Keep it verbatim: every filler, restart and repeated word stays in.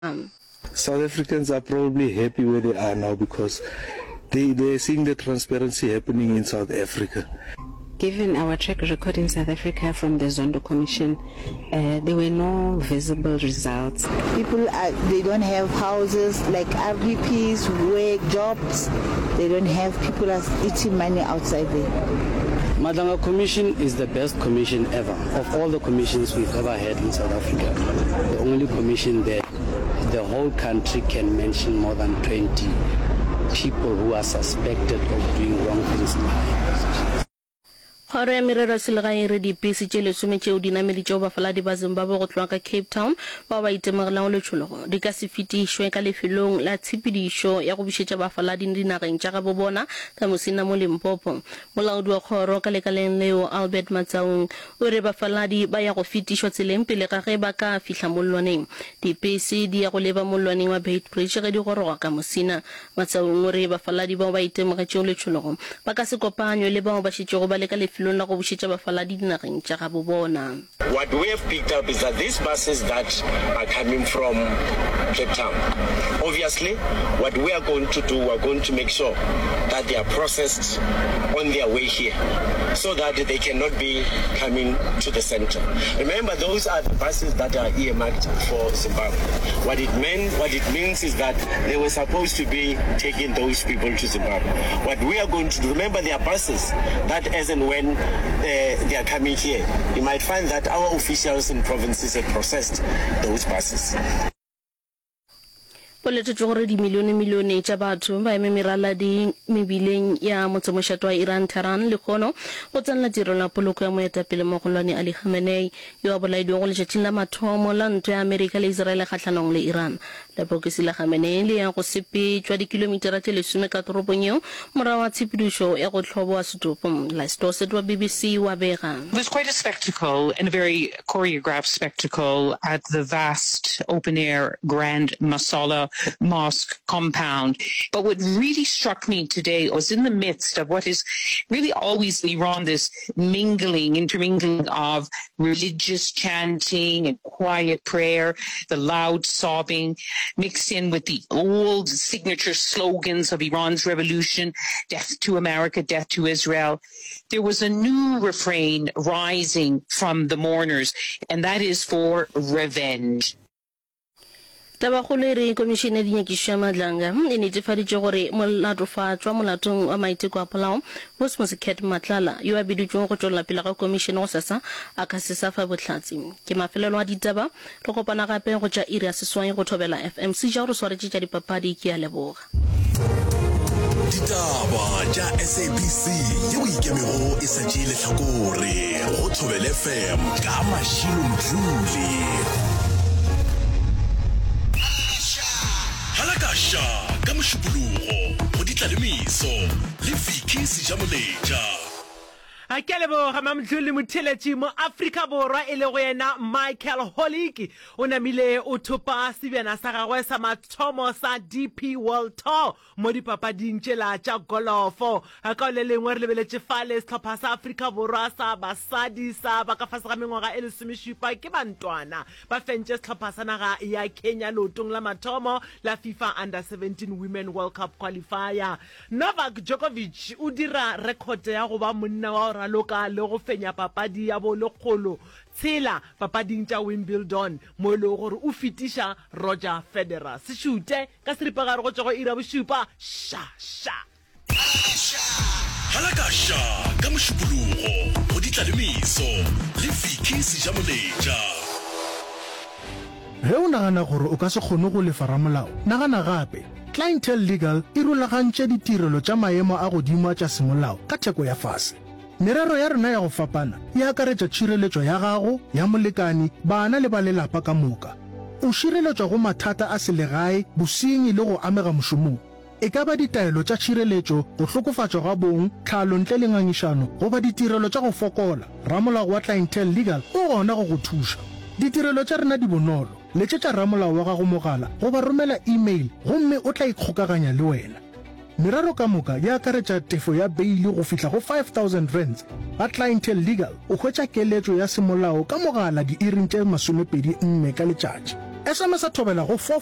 South Africans are probably happy where they are now because they, they're seeing the transparency happening in South Africa. Given our track record in South Africa from the Zondo Commission, uh, there were no visible results. People are, they don't have houses like R D Ps, work, jobs, they don't have, people are eating money outside there. Madlanga Commission is the best commission ever. Of all the commissions we've ever had in South Africa, the only commission that the whole country can mention more than twenty people who are suspected of doing wrong things in high positions. Kgoro ya Merero ya Selegae e re dipese tše lesome tšeo di nameditšego bafaladi ba Zimbabwe go tloga ka Cape Town bao ba itemogelago letšhologo di ka se fetišwe ka lefelong la tshepedišo ya go bušetša bafaladi dinageng tša gabo bona ka Musina mo Limpopo. Molaodi wa kgoro ka lekaleng leo Albert Matsaung o re bafaladi ba ya go fetišwa tseleng pele ga ge ba ka fihla mollwaneng. Dipese di ya go leba mollwaneng wa Beitbridge ge di goroga ka Musina. Matsaung o re bafaladi bao ba itemogetšego letšhologo ba ka se kopanywe le bao ba šetšego ba le ka lefelong la go bušetša bafaladi dinageng tša gabo bona. What we have picked up is that these buses that are coming from Cape Town, obviously what we are going to do, we are going to make sure that they are processed on their way here so that they cannot be coming to the center. Remember, those are the buses that are earmarked for Zimbabwe. What it meant, what it means is that they were supposed to be taking those people to Zimbabwe. What we are going to do, remember, there are buses that as and when uh, they are coming here, you might find that our officials in provinces have processed those buses. Go letetšwe gore dimilionemilione tša batho ba eme meralading mebileng ya motsemošate wa Iran, Tehran, lehono go tsenela tirelo ya poloko ya moetapele mogolwane Ali Khamenei, yo a bolailwego letšatšing la mathomo la ntwa ya Amerika le Israele kgahlanong le Iran. Lepokisi la Khamenei le ya go sepetšwa dikilomitara tše lesome ka toropong yeo morago ga tshepedišo ya go hloboa setopo. Liz Dorset wa B B C wa bega. It was quite a spectacle and a very choreographed spectacle at the vast open-air Grand Masala Mosque compound. But what really struck me today was in the midst of what is really always Iran, this mingling, intermingling of religious chanting and quiet prayer, the loud sobbing, mixed in with the old signature slogans of Iran's revolution, death to America, death to Israel. There was a new refrain rising from the mourners, and that is for revenge. Tabakgolo e re Komišene ya Dinyakišišo ya Madlanga e netefaditše gore molatofatšwa molatong wa maiteko a polao, Bosmos Cat Matlala, yo a biditšwego go tšwelela pele ga komišene gosasa, a ka se sa fa bohlatse. Ke mafelelo a ditaba. Re kopana gape go tša iri ya seswai go Thobela F M. Seja o re swaretše tša dipapadi. Ke a leboga. Ditaba tša S A B C yeo ikemego e sa tšee lehlakore go Thobela F M ka Mashilo Mdluli. Halakasha ka Mošupologo go Ditlalemeso le Vicky Sejamoletša. Ke a leboga Mamdluli. Motheeletši mo Afrika Borwa e lego yena Michael Holik o namile o thopa sebjana sa gagwe sa mathomo sa D P World Tour mo dipapading tšela tša golofo. Ka le lengwe re lebeletše fale sehlopha sa Afrika Borwa sa basadi sa ba ka fase ga mengwaga e lesomešupa ke bantwana ba fentše sehlopha sa naga ya Kenya leotong la mathomo la FIFA Under seventeen Women World Cup qualifier. Novak Djokovic o dira rekhote ya go ba monna wa go raloka le go fenya papadi ya bo lekgolo tshela papading tša Wimbledon mo e lego gore o fetiša Roger Federer. Sešute ka seripagare go tšwa go iri ya bošupa. Ša ša. Halakasha ka Mošupologo go Ditlalemeso le Vicky Sejamoletša. Ge o nagana gore o ka se kgone go lefa ramolao, nagana gape. Clientele Legal e rulagantše ditirelo tša maemo a godimo a tša semolao ka theko ya fase. Merero ya rena ya go fapana e akaretša tšhireletšo ya gago, ya molekani, bana le ba lelapa ka moka. O šireletšwa go mathata a selegae, bosenyi le go amega mošomong. E ka ba ditaelo tša tšhireletšo, go hlokofatšwa ga bong, tlhalo ntle le ngangišano, goba ditirelo tša go fokola, ramolao wa Clientele Legal o gona go go thuša. Ditirelo tša rena di bonolo. Letšetša ramolao wa gago mogala goba romela email gomme o tla ikgokaganya le wena. Merero ka moka e akaretša tefo ya beili go fihla go five thousand rands. Ga Clientele Legal o hwetša keletšo ya semolao ka mogala diiring tše masomepedi nne ka letšatši. SMS-a Thobela go four five